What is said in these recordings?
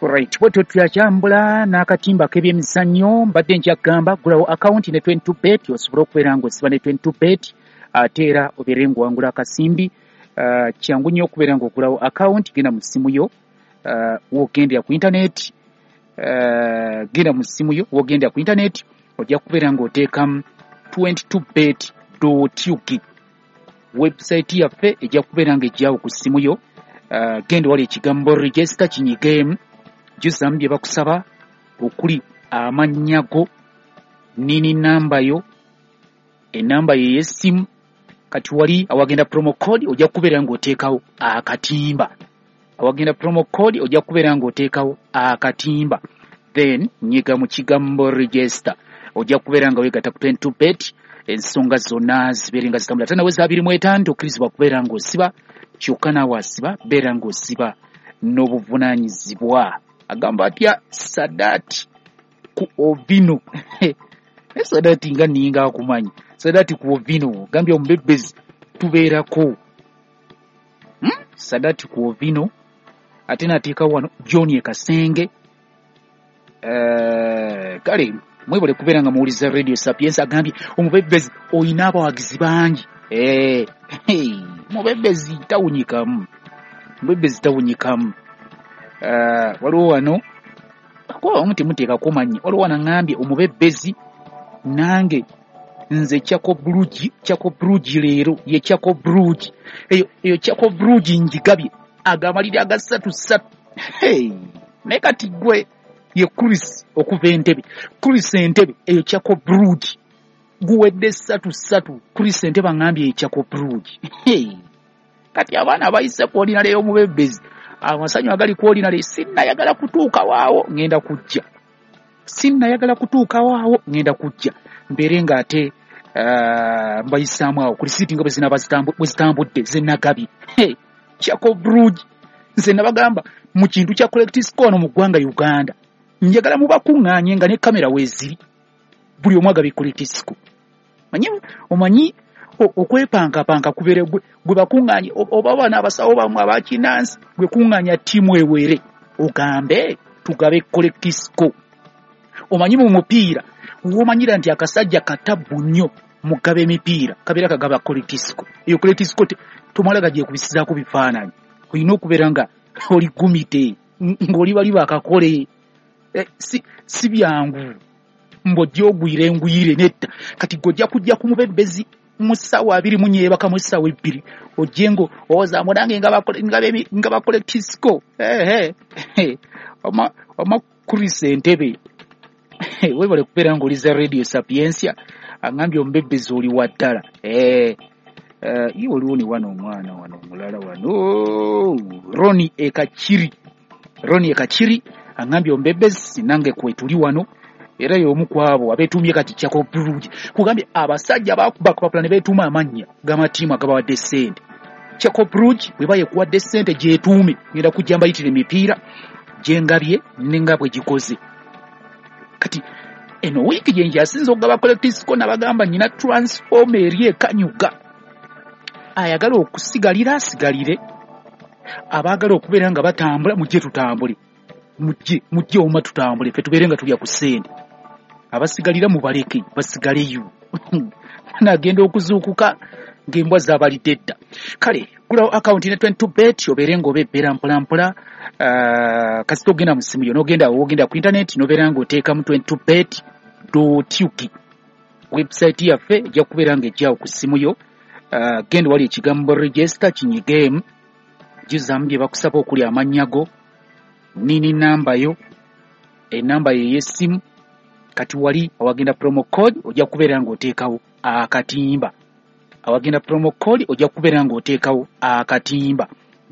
Right, bwetyo tuyakyambula n'akatimba k'ebyemizannyo. Mbadde nkyagamba gulawo akawunti ne 22 bet osobole okubeera ng'osiba ne 22 bet, ate era obeere ng'owangula akasimbi. Kyangu nnyo okubeera ng'ogulawo akawunti. Genda mu ssimu yo, w'ogendera ku internet, genda mu ssimu yo w'ogendera ku internet, ojja kubeera ng'oteekamu 22 bet ug. Website yaffe ejja kubeera ng'ejjawo ku ssimu yo. Genda wali ekigambo "register", kinyigeemu, jjuzamu bye bakusaba okuli amannya go, NIN namba yo, enamba yo ey'essimu. Kati wali awagenda promo code ojja kubeera ng'oteekawo akatimba. Awagenda promo code ojja kubeera ng'oteekawo akatimba, then nyiga mu kigambo "register". Ojja kubeera nga weegatta ku 22 bet, ensonga zonna zibeere nga zitambula. Ate nawe za 25 tokkirizibwa kubeera ng'osiba, kyokka naawe asiba beera ng'osiba n'obuvunaanyizibwa. Agamba atya Sadati ku Ovino? Naye Sadati nga ninga akumanyi. Sadati ku Ovino gambye omubebezi tubeerako. Sadati ku Ovino, ate nateeka wano John Ekasenge. Kale mwebale kubeera nga muwuliza Radio Sapiens. Agambye omubebezi oyina abawagizi bangi. Hey, mubebezi tawunyikamu, mubebezi tawunyikamu. Waliwo wano kuba abamu temuteekako mannya. Waliwo wano aŋŋambye omubebezi nange nze Chako Brugi, Chako Brugi leero ye Chako Brugi. Eyo eyo Chako Brugi njigabye agamaliri aga ssatu ssatu. Hey, naye kati gwe ye Chris okuva Entebe. Chris Entebe, eyo Chako Brugi guwedde ssatu ssatu. Chris Entebe aŋŋambye ye Chako Brugi. Hey, kati abaana abayise ku ordinary y'omubebezi, amasanyu agali ku ordinary, sinnayagala kutuuka waawo, ŋŋenda kujja. Sinnayagala kutuuka waawo, ŋŋenda kujja mbeere ng'ate mbayisaamu awo ku risiiti nga bwe zinaaba bwe zitambudde zenagabye. Hey, Chako Brugi, nze nabagamba mu kintu kya correct score wano mu ggwanga Uganda, njagala mubakuŋŋaanye nga ne kamera weeziri, buli omu agabye correct score. Manyi omanyi okwepankapanka kubeere gwe bakuŋŋaanye oba bano abasawo bammwe abakinansi, gwe kuŋŋaanya ttiimu ewere ogambe tugabe correct score. Omanyi mu mupiira womanyira nti akasajja katabbu nnyo mugaba emipiira, kabeera kagaba correct score. Eyo correct score tomala gagyekubisizaako bifaananyi, olina okubeera nga oli gumite ng'oli bali bakakole. Si byangu mbw'ojja ogwira engwire nedda. Kati gwe ojja kujja ku mubebezi mu ssaawa 24 yeebakamu essaawa 2, ojje ngo owozaamu nange nga ba correct score. Ehe, oma Chris Entebe, webale kubeera ng'oliza Radio Sapiensia. Aŋŋambye omubebezi oli wa ddala. Iwe oliwo ne wano omwana wano omulala wano Roni Ekakiri, Roni Ekakiri aŋŋambye omubebezi nange kwetuli wano, era y'omu ku abo abeetuumye kati Chako Brugi. Kugambye abasajja bakuba kupapula ne beetuuma amannya g'amatiimu agabawadde ssente. Chako Brugi bwe bayekuwadde ssente gyetuume, ngenda kujja mbayitira emipiira gyengabye nenga bwe gikoze. Kati eno wiiki gye nkyasinza okugaba correct score, nabagamba nyina transform eri ekanyuga. Ayagala okusigalira asigalire, abaagala okubeera nga batambula mujje tutambule, mujje mujje oma tutambule ffe tubeere nga tulya ku ssente. Abasigalira mubaleke basigaleyo, nagenda okuzuukuka ng'embwa zabalidde dda. Kale gulawo akawunti ne 22 bet obeere ng'obebbera mpolampola. Kasita ogenda mu ssimu yo n'ogenda wogenda ku internet n'obeera ng'oteekamu 22 bet ug, website yaffe ejja kubeera ng'ejjawo ku ssimu yo. Genda wali ekigambo "register", kinyigeemu, jjuzaamu bye bakusaba okuli amannya go, NIN namba yo, enamba yo ey'essimu. Kati wali awagenda promo code ojja kubeera ng'oteekawo akatimba. Awagenda promo code ojja kubeera ng'oteekawo akatimba,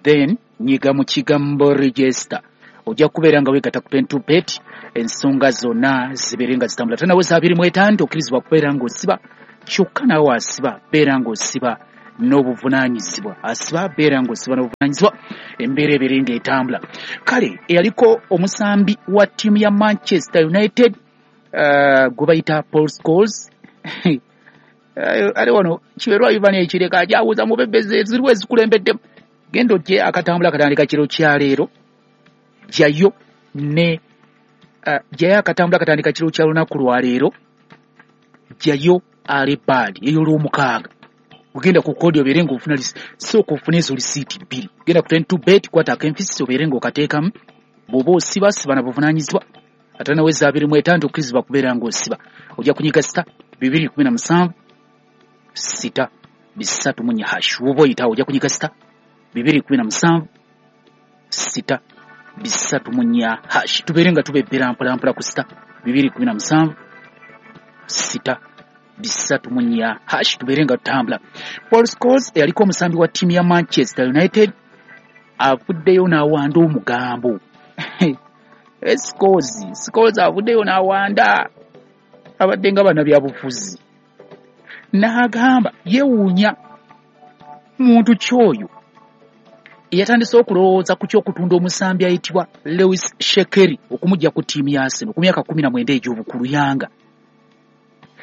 then nyiga mu kigambo "register". Ojja kubeera nga weegatta ku 22 bet, ensonga zonna zibeere nga zitambula. Ate nawe za 25 okkirizibwa kubeera ng'osiba, kyokka naawe asiba beera ng'osiba n'obuvunaanyizibwa. Asiba beera ng'osiba n'obuvunaanyizibwa, embeera ebeere ng'etambula. Kale eyaliko omusambi wa ttiimu ya Manchester United, gwe bayita Paul Scholes, ate wano kiberwa Ivan ekireka akyawuza mubebezi eziriwo ezikulembeddemu. Genda ojje akatambula akatandika kiro kyaleero, jjayo Ne jjayo akatambula katandika kiro kya lunaku lwaleero, jjayo alebad ey'olwomukaaga, ogenda ku kodi obeere ng'ofuna, sooka ofune ezo lisiiti 2, genda ku 22 bet, kwata akenfisi obeere ng'okateekamu. Bw'oba osiba siba na buvunaanyizibwa, ate naweza 25 okkirizibwa kubeera ng'osiba. Ojja kunyiga *217 6 3 hash. Woba oyitawo ojja kunyiga *217 6 3 hash. Tubeere nga tubebbera mpolampola ku *217 6 3 hash, tubeere nga tutambula. Paul Scholes eyaliko omusambi wa ttiimu ya Manchester United avuddeyo n'awanda omugambo. Scholes avuddeyo n'awanda, abadde nga bannabyabufuzi, n'agamba yeewuunya muntu kyoyo eyatandise okulowooza ku ky'okutunda omusambi ayitibwa Lewis Shekeri okumujja ku ttiimu ya Arsenal ku myaka 19 egy'obukulu yanga.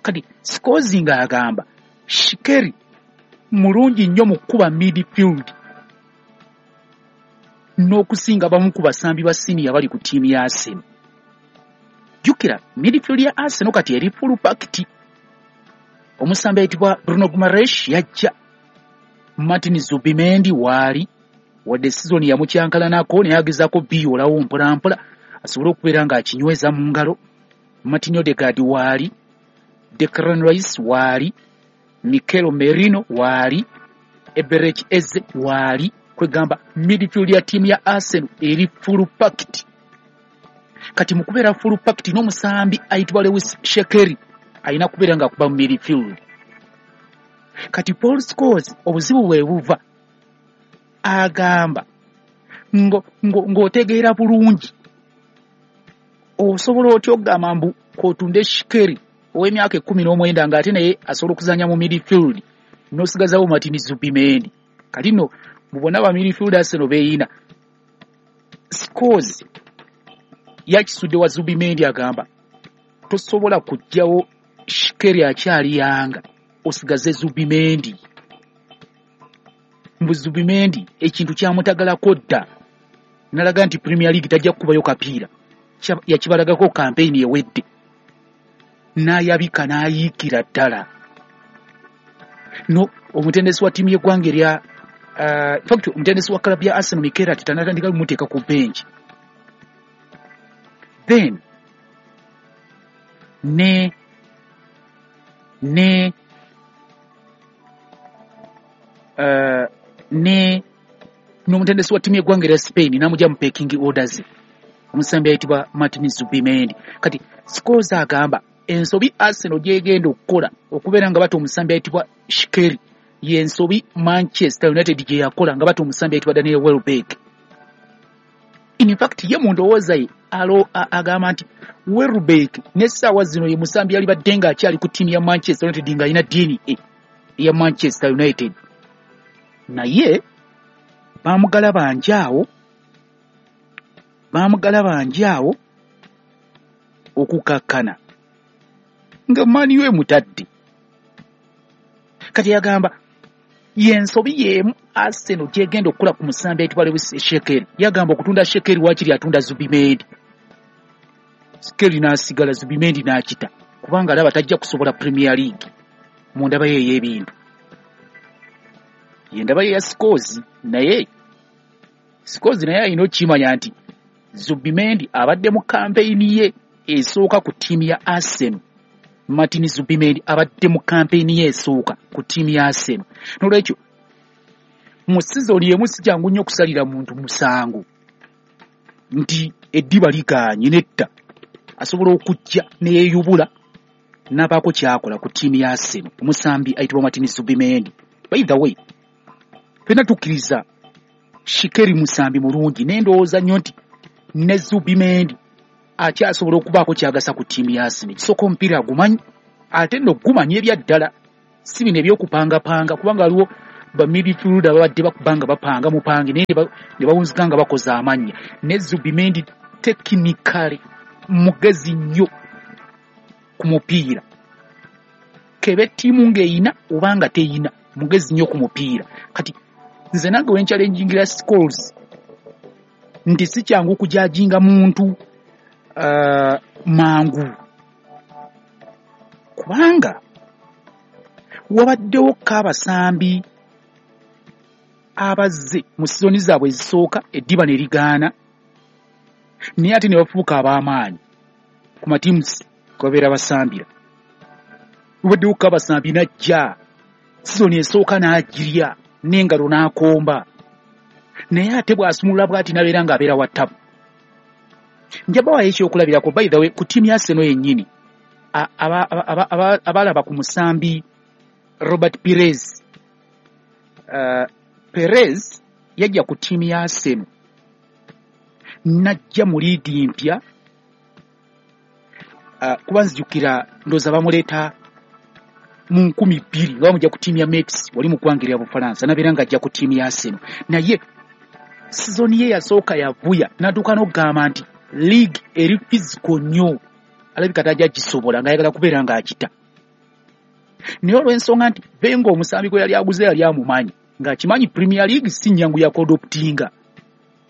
Kati Scholes ng'agamba Shekeri mulungi nnyo mu kkuba midfield n'okusinga bamu ku basambi ba senior bali ku ttiimu ya Arsenal. Jjukira midfield ya Arsenal kati eri full packed. Omusambi ayitibwa Bruno Guimaraes yajja, Martin Zubimendi waali, wadde sizoni yamukyankalanako naye agezaako biyoolawo mpolampola asobole okubeera ng'akinyweza mu ngalo. Martin Odegaard waali, Declan Rice waali, Mikel Merino waali, Eberechi Eze waali. Kwegamba midfield ya ttiimu ya Arsenal eri full packed. Kati mu kubeera full packed n'omusambi ayitibwa Lewis Shekeri alina kubeera ng'akuba mu midfield. Kati Paul Scholes obuzibu bwe buva, agamba ng'otegeera bulungi osobola otya okugamba mbu k'otunde Shekeri ow'emyaka 19 ng'ate naye asobola okuzannya mu midfield n'osigazawo Martin Zubimendi. Kati nno mu bonna ba midfield Arsenal beeyina, Scholes yakisudde wa Zubimendi, agamba tosobola kuggyawo Shekeri akyali yanga osigaze Zubimendi. Mbu Zubimendi ekintu kyamutagalako dda, nalaga nti Premier League tajja kukubayo kapiira, yakibalagako kampeyini ewedde, n'ayabika n'ayiikira ddala. No omutendesi wa ttiimu y'eggwanga erya in fact omutendesi wa club ya Arsenal Mikel Arteta n'atandika kumuteeka ku bench. Then ne ne ne n'omutendesi wa ttiimu y'eggwanga erya Spain n'amugya mu pecking orders, omusambi ayitibwa Martin Zubimendi. Kati Scholes agamba ensobi Arsenal gy'egenda okukola okubeera nga bata omusambi ayitibwa Shekeri y'ensobi Manchester United gye yakola nga bata omusambi ayitibwa Daniel Welbeck. In fact ye mu ndowooza ye agamba nti Welbeck n'essaawa zino ye musambi yali badde ng'akyali ku ttiimu ya Manchester United ng'alina DNA eya Manchester United, naye bamugalabanja awo okukakkana nga Man U emutadde. Kati yagamba yensobi y'emu Arsenal gy'egenda okukola ku musambi ayitibwa Lewis Shekeri. Yagamba okutunda Shekeri waakiri atunda Zubimendi, Shekeri n'asigala, Zubimendi n'akita, kubanga alaba tajja kusobola Premier League mu ndaba ye ey'ebintu. Ye ndaba ye ya Scholes, naye Scholes naye alina okukimanya nti Zubimendi abadde mu kampeyini ye esooka ku ttiimu ya Arsenal. Martin Zubimendi abadde mu kampeyini ye esooka ku ttiimu ya Arsenal. N'olwekyo mu sizoni emu si kyangu nnyo okusalira muntu musango nti eddiba ligaanye, nedda, asobola okujja ne yeeyubula n'abaako ky'akola ku ttiimu ya Arsenal, omusambi ayitibwa Martin Zubimendi. By the way, ffenna tukkiriza Shekeri musambi mulungi, naye ndowooza nnyo nti ne Zubimendi akyasobola okubaako ky'agasa ku ttiimu ya Arsenal. Ekisooka omupiira agumanyi, ate nno gumanyi ebya ddala, si bino eby'okupangapanga, kubanga waliwo ba midfielder babadde bakuba nga bapanga mupange naye ne bawunzika nga bakoze amannya. Ne Zubimendi technically mugezi nnyo ku mupiira, kebe ttiimu ng'eyina oba nga teyina, mugezi nnyo ku mupiira. Kati nze nange we nchallengingira Scholes Nti si kyangu kujudginga muntu mangu, kubanga wabaddewo ko abasambi abazze mu sizoni zaabwe ezisooka eddiba ne ligaana, naye ate ne bafuuka ab'amaanyi ku mateams kwe babeera basambira. Wabaddewo ko abasambi najja sizoni esooka n'agirya n'engalo n'akomba, naye ate bw'asumulula bw'ati n'abeera ng'abeera wa ttabu. Nja bawayo ekyokulabirako, by the way, ku ttiimu ya Arsenal yennyini, abalaba ku musambi Robert Pires. Pires yajja ku ttiimu ya Arsenal n'ajja mu liigi mpya, kuba nzijukira ndowooza bamuleeta mu 2000 nga bamujja ku ttiimu ya Metz wali mu ggwanga erya Bufalansa, n'abeera ng'ajja ku ttiimu ya Arsenal. Naye sizoni ye yasooka yavuya, n'atuuka n'okugamba nti league eri physical nnyo, alabika tajja gisobola, ng'ayagala kubeera ng'akita. Naye olw'ensonga nti Wenger omusambi gwe yali aguze yali amumanyi, ng'akimanyi Premier League si nnyangu ya kuadoptinga,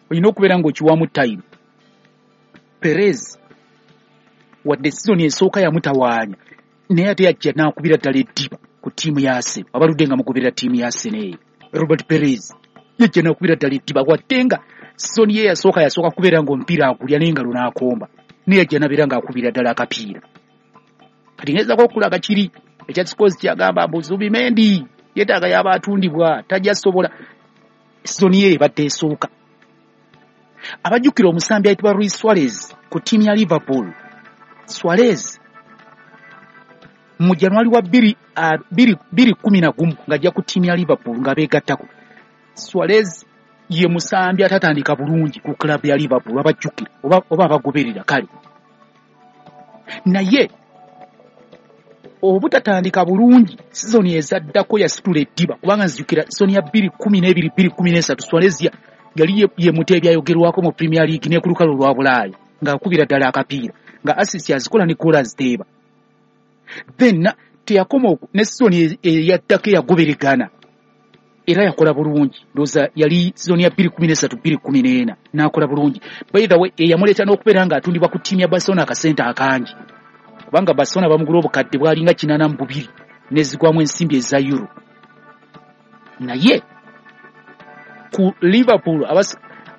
olina okubeera ng'okiwamu time. Pires wadde sizoni esooka yamutawaanya, naye ate yajja n'akubira ddala eddiba ku ttiimu ya Arsenal. Abaludde nga mugoberera ttiimu ya Arsenal eyo, Robert Pires yajja n'akubira ddala eddiba, wadde nga sizoni ye yasooka yasooka kubeera ng'omupiira agulya n'engalo n'akomba, naye yajja n'abeera ng'akubira ddala akapiira. Kati ngezaako okulaga kiri ekya Scholes kyagamba mbu Zubimendi yeetaaga yaba atundibwa, tajja sobola sizoni ye ebadde esooka. Abajjukira omusambi ayitibwa Luis Suarez ku ttiimu ya Liverpool. Suarez mu January wa 2011 ng'ajja ku ttiimu ya Liverpool nga beegattako. Suarez ye musambi atatandika bulungi ku club ya Liverpool, abajjukira oba abagoberera kale. Naye obutatandika bulungi, sizoni ezaddako yasitula eddiba, kubanga nzijukira sizoni ya 2012 2013 Suarez yali ye muteebi ayogerwako mu Premier League ne ku lukalu lwa Bulaaya, ng'akubira ddala akapiira, nga assist azikola ne goal aziteeba. Then teyakoma ne sizoni eyaddako eyagoberegana era yakola bulungi, ndowooza yali sizoni ya 2013 2014 n'akola bulungi. By the way, eyamuleeta n'okubeera ng'atundibwa ku ttiimu ya Barcelona akasente akangi, kubanga Barcelona bamugula obukadde bwalinga 82 nezigwamu ensimbi eza euro. Naye ku Liverpool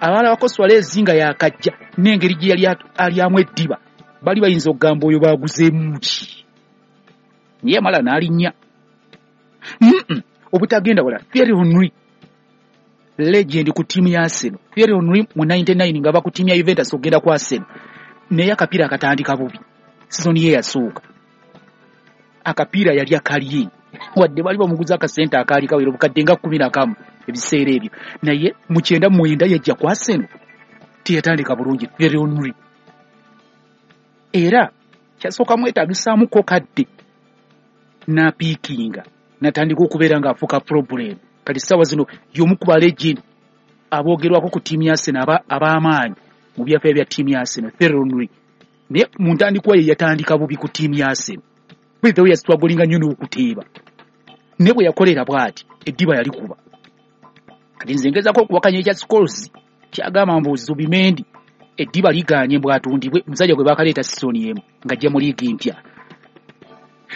abalabako Suarez nga yakajja n'engeri gye yali alyamu eddiba, bali bayinza okugamba oyo baguzeemu ki, naye amala n'alinnya obutagenda wala. Thierry Henry, legend ku ttiimu ya Arsenal. Thierry Henry mu 99 nga ava ku ttiimu ya Juventus okugenda ku Arsenal, naye akapiira akatandika bubi. Sizoni ye yasooka akapiira yali akalye, wadde bali bamuguza akasente akaali kawera obukadde nga 11 ebiseera ebyo, naye mu 99 yajja ku Arsenal teyatandika bulungi Thierry Henry, era kyasooka mwetaagisaamuko kadde n'apiikinga n'atandika okubeera ng'afuuka problem. Kati ssaawa zino y'omu ku ba legend aboogerwako ku ttiimu ya Arsenal ab'amaanyi mu byafaayo bya ttiimu ya Arsenal, Thierry Henry. Naye mu ntandikwa ye yatandika bubi ku ttiimu ya Arsenal, by the way yasitwagolinga nnyo n'okuteeba, naye bwe yakolera bw'ati eddiba yalikuba. Kati nze ngezaako okuwakanya ekya Scholes kyagamba mbu Zubimendi eddiba ligaanye bw'atundibwe, omusajja gwe baakaleeta sizoni emu ng'ajja mu liigi mpya.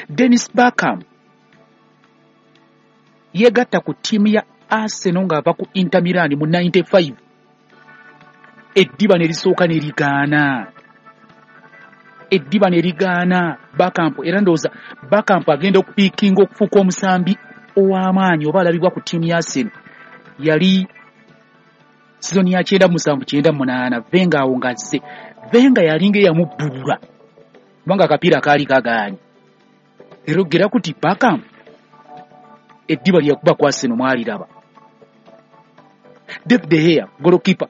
Dennis Bergkamp yeegatta ku ttiimu ya Arsenal ng'ava ku Inter Milan mu 95, eddiba ne lisooka ne ligaana, eddiba ne ligaana Bergkamp. Era ndowooza Bergkamp agenda okupiikinga okufuuka omusambi ow'amaanyi oba alabibwa ku ttiimu ya Arsenal yali sizoni ya 97 98, Wenger awo ng'azze. Wenger yalinga eyamubbulula kubanga akapiira kaali kagaanye, era ogera kuti Bergkamp eddiba lye yakuba ku Arsenal mwaliraba. David De Gea, goalkeeper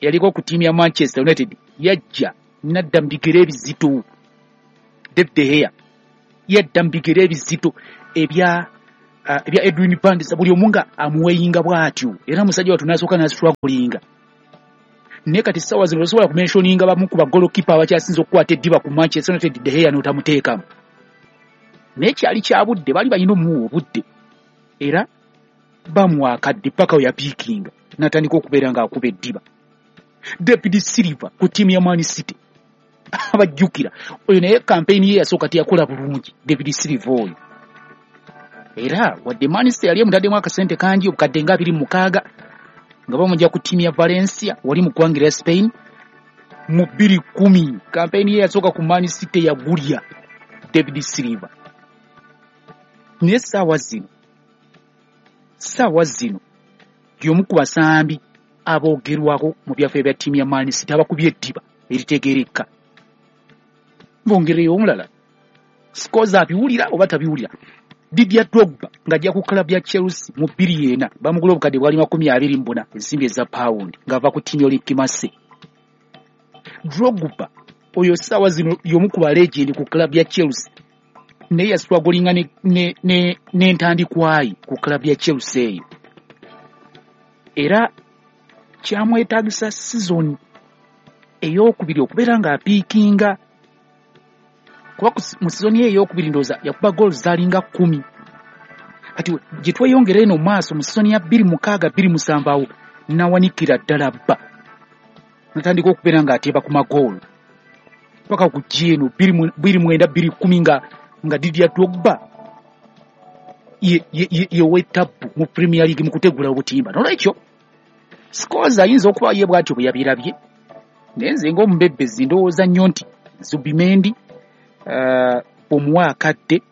yaliko ku ttiimu ya Manchester United, yajja nadda mu bigere ebizito. David De Gea yadda mu bigere ebizito ebya Edwin van der Sar, buli omu nga amuweyinga bw'atyo, era musajja wattu n'asooka n'astrugglinga. Naye kati ssaawa zino tosobola kumentioninga bamu ku bagolokipa abakyasinze okukwata eddiba ku Manchester United, De Gea n'otamuteekamu. Naye kyali kya budde, baali balina omuwa obudde, era bamuwa akadde paka we yapiikinga n'atandika okubeera ng'akuba eddiba. David Silva ku ttiimu ya Man City, abajjukira oyo, naye kampeyini ye yasooka teyakola bulungi David Silva oyo. Era wadde Man City yali emutaddemu akasente kangi, obukadde nga 26, nga bamujja ku ttiimu ya Valencia wali mu ggwanga erya Spain mu 2010, kampeyini ye yasooka ku Man City yagulya David Silva. Naye ssaawa zino y'omu ku basambi aboogerwako mu byaffe bya ttiimu ya Man City abakubye eddiba eritegeereka. Mbongereyo omulala, Scholes abiwulira oba tabiwulira. Didier Drogba ng'ajja ku club ya Chelsea mu 2004, bamugula obukadde bwali 24 ensimbi eza pawundi, ng'ava ku ttiimu ya Olympique Marseille. Drogba oyo ssaawa zino y'omu ku balegend ku club ya Chelsea, naye yasitwagolinga n'entandikwayi ku club ya Chelsea eyo, era kyamwetaagisa sizoni ey'okubiri okubeera ng'apiikinga, kuba mu sizoni ye ey'okubiri ndowooza yakuba goals zaalinga 10. Kati gye tweyongera eno maaso mu sizoni ya 2006 2007, awo nawanikira ddala bba natandika okubeera ng'ateeba ku magoolo paka ku eno 2009 2010, nga Didier Drogba ye w'ettabbu mu Premier League mu kutegula obutimba. Nolwekyo Scholes ayinza okuba ye bw'atyo bwe yabirabye, naye nze ng'omubebbezi ndowooza nnyo nti Zubimendi omuwa akadde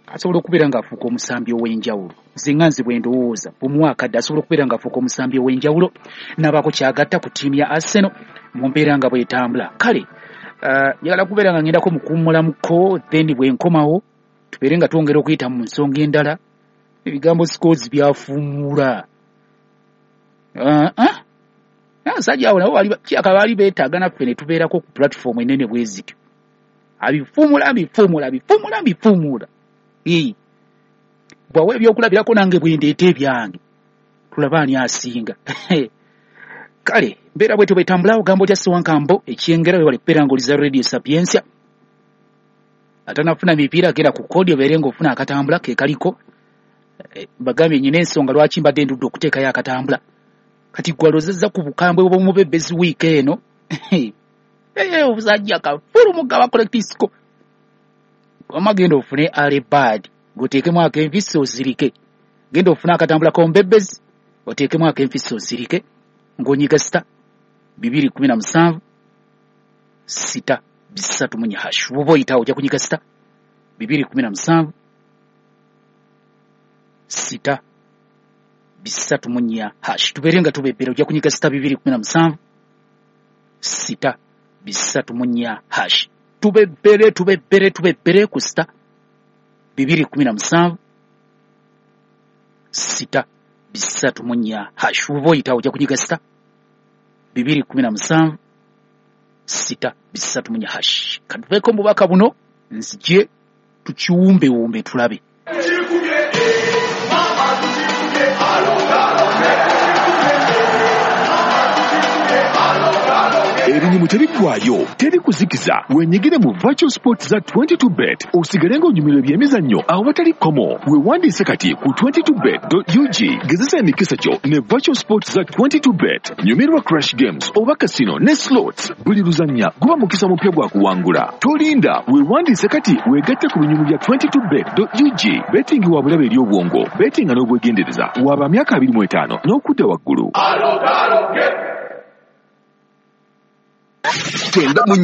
asobola okubeera ng'afuuka omusambi ow'enjawulo. Nze nga nze bwe ndowooza, omuwa akadde asobola okubeera ng'afuuka omusambi ow'enjawulo n'abaako kyagatta ku ttiimu ya Arsenal mu mbeera nga bw'etambula. Kale njagala kubeera nga ngendako mu kuwummulamuko, then bwe nkomawo tubeere nga twongera okuyita mu nsonga endala. Ebigambo Scholes byafuumula, abasajja abo nabo kyaka baali beetaaga naffe ne tubeerako ku platform enene bwe zityo. Abifuumula, abifuumula, abifuumula, abifuumula. Bw'awa ebyokulabirako, nange bwe ndeeta ebyange, tulaba ani asinga. Kale mbeera bwetyo bwetambula. Ogamba otya Sewankambo ekyengera? Webale kubeera ng'oliza Radio Sapiensia. Atanafuna mipiira, genda ku kodi obeere ng'ofuna akatambula ke kaliko. Bagambye nyina ensonga lwaki mbadde ndudde okuteekayo akatambula. Kati gwe alozezza ku bukambwe bw'omubebezi wiiki eno, obusajja kafulu mugaba collectisco wama, genda ofune alebad ng'oteekemu akenfisi osirike. Genda ofune akatambula k'omubebezi oteekemu akenfisi osirike, ng'onyiga *217 *334 hash. Bw'oba oyitawo ojja kunyiga *217 *334 hash, tubeere nga tubebbera. Ojja kunyiga *217 *334 hash, tubebbere, tubebbere, tubebbere ku *217 *334 hash. Bw'oba oyitawo ojja kunyiga *217 *334 hash. Katuveeko mu bubaka buno, nzije tukiwumbewumbe tulabe. Ebinyumu tebiggwayo, teri kuzikiza. Wenyigire mu virtual sports za 22 bet, osigale ng'onyumirwa ebyemizannyo awatali kkomo. Weewandiise kati ku 22bet.ug. Gezesa emikisa gyo ne virtual sports za 22 bet. Nyumirwa crash games oba casino ne slots. Buli luzannya guba mukisa mupya gwa kuwangula. Tolinda, weewandiise kati, weegatte ku binyumu bya 22bet.ug. Betting wa bulabe eri obwongo. Bettinga n'obwegendereza. Waba myaka 25 n'okudda waggulu. Tenda mu.